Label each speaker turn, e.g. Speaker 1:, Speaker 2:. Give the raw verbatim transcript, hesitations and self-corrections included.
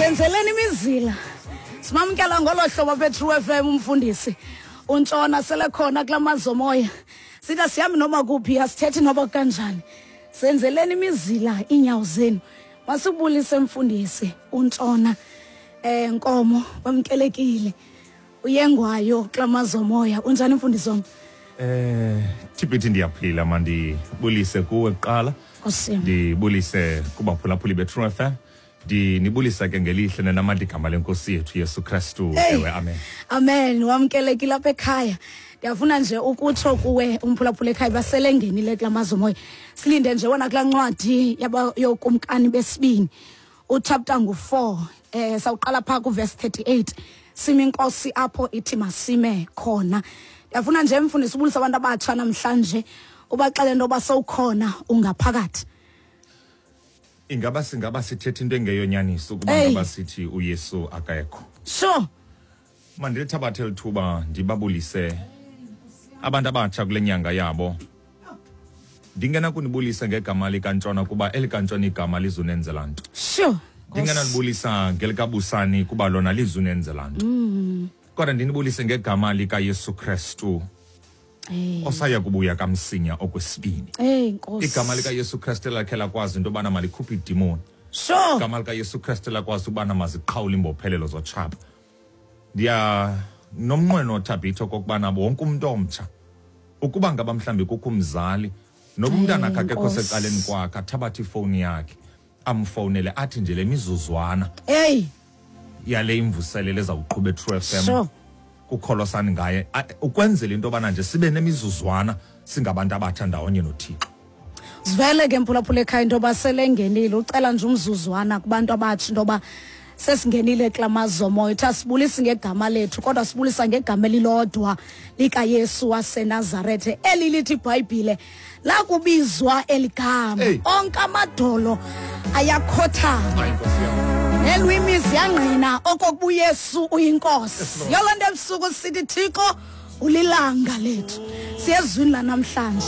Speaker 1: Senzeleni imizila. Simamkela ngolo hlobo apha eTrue F M umfundisi uNtshona selekhona kula mazomoya. Sithi asihambi noma kuphi, asithethi noba kanjani. Senzeleni imizila iinyawo zenu. Masibulise mfundisi uNtshona eh Nkomo, wamkelekile. Uyengwayo kula mazomoya. Unjani mfundisi wam?
Speaker 2: Eh Thibithi, ndiyaphila. Mandibulise kuwe kuqala. Ndibulise kubaphulaphuli beTrue F M. Ndinibulisa ke ngelihle nenamandla igama lenkosi yethu Yesu Kristu. Ewe, amen.
Speaker 1: Amen. Wamkelekile apha ekhaya. Ndiyafuna nje ukutsho kuwe umphulaphula ekhaya baselengenile kula mazomoya. Silinde nje wona kulaa ncwadi yokumkani besibini. Uchapter ngu four. Eh sawuqala pha ku verse thirty-eight. Simi inkosi apho ithi masime khona. Ndiyafuna nje mfundisi ubulisa abantu abatsha namhlanje ubaxele into yoba sowukhona ungaphakathi.
Speaker 2: Ingaba singaba sithetha into engeyonyaniso ukuba ngaba sithi uYesu akekho.
Speaker 1: Sure.
Speaker 2: Mandilithabathe lithuba ndibabulise abantu abatsha kule nyanga yabo. Ndingena kunibulisa ngegama likaNtshona kuba elikaNtshona igama lizunenzela nto.
Speaker 1: Sure.
Speaker 2: Ndingena nibulisa ngelikabusani kuba lona lizunenzela nto.
Speaker 1: Mm.
Speaker 2: Kodwa ndinibulise ngegama likaYesu Kristu.
Speaker 1: Hey.
Speaker 2: Osaya kubuya kamsinya okwesibini.
Speaker 1: Hey Nkosi.
Speaker 2: Igama likaYesu Kristu lakhe lakwazi into yobana malikhuphe idimoni.
Speaker 1: Sure.
Speaker 2: Igama likaYesu Kristu lakwazi ubana maziqhawule imbophelelo zotshaba. Ndiya nomnqweno Thabitho kokubana wonke umuntu omtsha ukuba ngaba mhlambi kukho umzali noba umntana akhe akekho secaleni kwakhe athabathe ifowuni yakhe amfowunele athi nje le mizuzwana
Speaker 1: hey
Speaker 2: yale imvuselelo ezawuqhuba eTrue F M.
Speaker 1: Sure.
Speaker 2: Kukholosani ngaye ukwenzela into yobana nje sibe nemizuzwana singabantu abatsha ndawonye noThixo.
Speaker 1: Sivele ke mphulaphula ekhaya into yoba selengenile, ucela nje umzuzwana kubantu abatsha into yoba sesingenile kula mazomoya. Uthi asibulisi ngegama lethu kodwa sibulisa ngegama elilodwa likaYesu waseNazarethe, eli lithi iBhayibhile lakubizwa eligama onke amadolo ayakhothama, nelwimi ziyangqina okokuba uYesu uyinkosi. Yolo nto ebusuku sithi Thixo ulilanga lethu. Siyezwini lanamhlanje.